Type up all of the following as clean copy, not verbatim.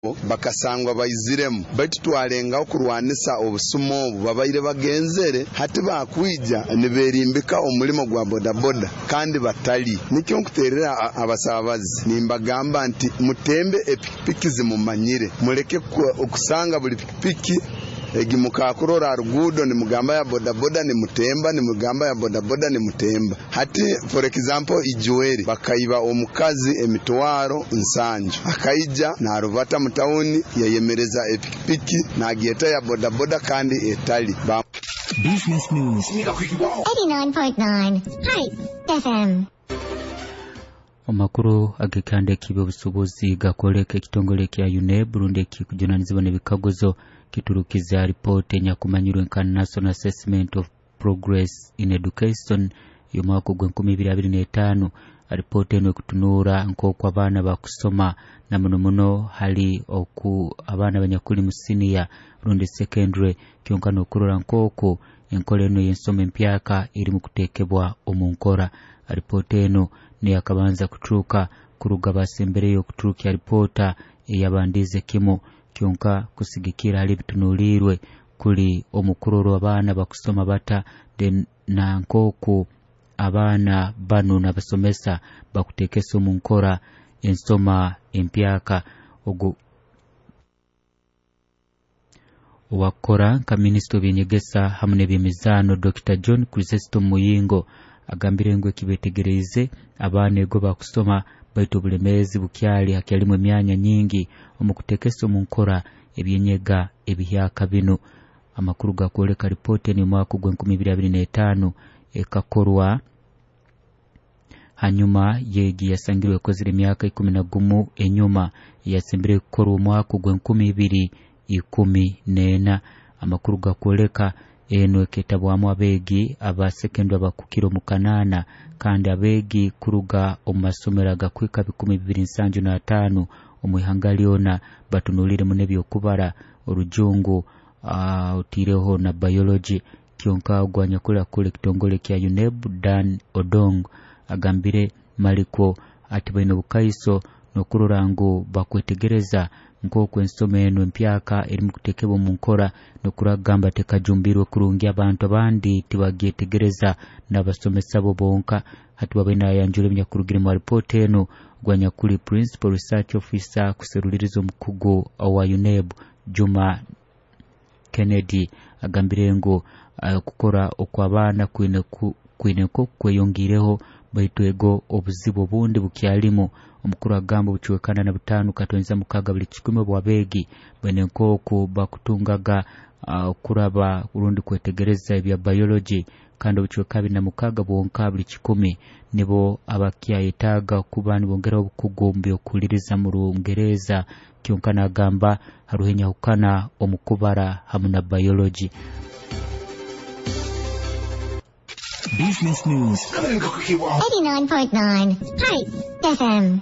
Bakasangwa baiziremu, baitu twalengaho kurwanisa obusuma obu babaire bagenzere. Hati bakwija niberimbika omulimo gwa bodaboda kandi batali. Nikyo nkuterera abasabazi nimbagamba nti mutembe epikipiki zimumanyire, muleke okusanga buli pikipiki egi mukakurora ruguudo nimugamba ya bodaboda nimutemba, nimugamba ya bodaboda nimutemba. Hati for example Ijweri bakaiba omukazi 700,000, akaija narubata mu tawuni yayemereza epikipiki nagyeta ya bodaboda kandi etali. Business News 89.9 Hype FM. Amakuru agekanda ekiby'obusubuzi gakoleka ekitongole kya UNEB rundi ekikujunanizibwa n'ebikaguzo kiturukiza ripoti enyakumanyirwe nka National Assessment of Progress in Education y'omwaka ogwa 2025. Ripoti eno ekutunuura nk'oku abaana bakusoma, na muno muno hali oku abaana abanyakuli mu siniya rundi secondary, kyonka n'okurora nk'oku enkola eno y'ensoma empyaka erimu kuteekebwa omu nkora. Ripoti eno neyakabanza kuturuka kuruga basembereyo okuturukya ripota eyabandize kimu, kyonka kusigikira hali ebitunuliirwe kuli omukurorwa abaana bakusoma bata, then na nk'oku abaana banu n'abasomesa bakuteekesa omu nkora ensoma empyaka. Ogu owakukora nka minisita w'ebyenyegesa hamu n'ebyemizaano, Dr John Chrysostom Muyingo, agambire ngu ekibetegereize abaana ego bakusoma, baitu obulemeezi bukyali hakyalimu emyanya nyingi omu kuteekesa omu nkora ebyenyega ebihyaka binu. Amakuru gakwoleka ripoti eno y'omwaka ogwa 2025 ekakorwa hanyuma yegi yasangirwe ekozire emyaka 11 enyuma, eyasembere kukorwa omwaka ogwa 2014. Amakuru gakwoleka eno eketabwamu abeegi aba sekendary abakukira omu kanaana, kandi abeegi kuruga omu masomero agakwika 275 omu ihanga lyona. Batunulire muno ebyokubara, orujungu, otiireho na biology. Kyonka ogwanyakuli akukora ekitongole kya UNEB, Dan Odong, agambire malikwo ati baine obukaiso n'okurora ngu bakwetegereza nk'oku ensoma eno empyaka erimu kuteekebwa omu nkora, n'okuragamba tekajumbirwe kurungi, abantu abandi tibagyetegereza n'abasomesa bo bonka. Hati babaire nayanjura ebinyakurugire mu ripoti eno, gwanyakuli principal research officer kuseruliriza omukugu owa UNEB, Juma Kennedy, agambire ngu okukora okw'abaana kwine kweyongireho, baitu ego obuzibu obundi bukyalimu. Omukuru agamba obucwekana na 5.6 buli kikumi obw'abeegi baine nk'oku bakutungaga kuraba rundi kwetegereza ebya biology, kandi obucweka 26 bwonka buli kikumi nibo abakyayetaaga kuba nibongeraho obukugu omu by'okuhuliriza mu Rungereza. Kyonka nagamba haruho enyahukana omu kubara hamu na biology. Business News 89.9 Hype FM.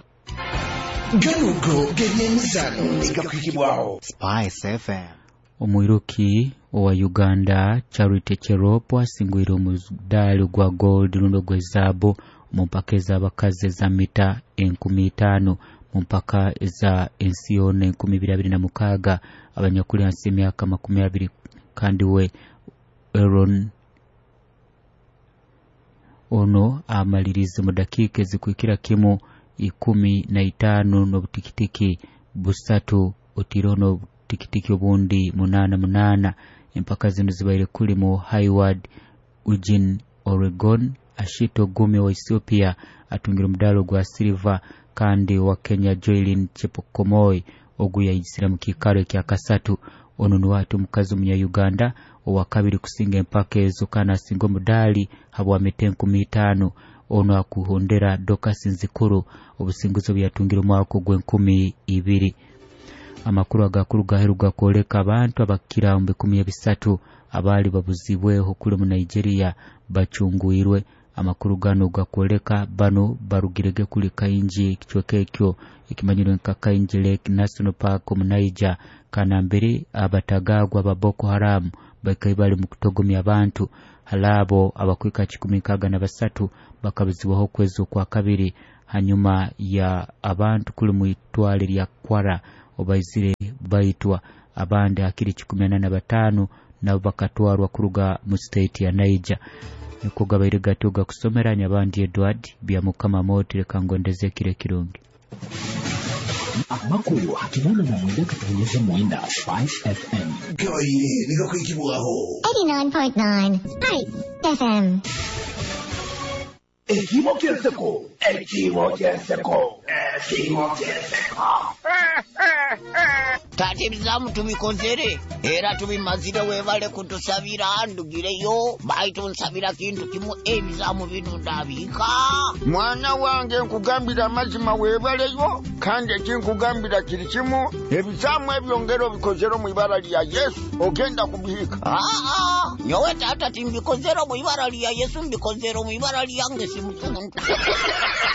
Ganugo g'ebyemizano gakwikibwaho Spice FM. Omwiruki owa Uganda Charity Cherop asingwire omudaali gwa gold rundi ogw'ezaabu omu mpaka ez'abakazi eza mita 5000 mu mpaka eza ensi yoona 2026 abanyakuli hansi y'emyaka 20. Kandi we Aaron ono amalirize mu dakiika ezikwikira kimu 15 n'obutikitiki 3, otiireho n'obutikitiki obundi 8 8. Empaka zino zibaire kulimu Hayward, Eugene, Oregon. Ashito Gumi wa Ethiopia atungire omudaali ogwa silver, kandi wa Kenya Joylin Chepkomoi ogu yayisira mu kiikaro ekya kasatu. Ono niwe ati omukazi omunya-Uganda owakabiri kusinga empaka ezo, kandi asinga omudaali habwa mita 5000. Ono akuhondera Dorcas Nzikuru obusinguzi obu yatungire omwaka ogw'2000. Amakuru agakuru gaheru gakwoleka abantu abakira mu 300 abaali babuzibweho kuli mu Nigeria bacungwirwe. Amakuru gano gakwoleka bano barugirege kuli Kainji, ekicweka ekyo ekimanyirwe nka Kainji Lake National Park omu Niger, kanambere abatagagwa ba Boko Haram baikaire bali mu kutogomya abantu. Hali abo abakwika 163 bakabuzibwaho okwezi okwa kabiri hanyuma ya abantu kuli mu itwale lya Kwara. obaizire baitwa, abandi hakiri 85 nabo bakatwarwa kuruga mu state ya Niger. Niko gabaire gatyo gakusomera Nyabandi Edward Byamukama Moti, reka ngondeze kire kirungi. Amakuru 89 9 Spice FM. Gabaire nigakwikibwaho 89.9 Spice FM. Ekimo kyenseko, ekimo kyenseko, ekimo kyenseko. Taata, ebizaamu tubikozere era tubimazire. Webale kutusabira. Ndugireyo, baitu nsabira kintu kimu, ebizaamu bino ndabiika. Mwana wange, nkugambira amazima, weebaleyo, kandi ekinkugambira kiri kimu, ebizaamu ebyo ngero bikozere mu ibara lya Yesu, ogenda kubihiika. Aa, nyowe taata timbikozere mu ibara lya Yesu, mbikozere mu ibara lyange simusuntu.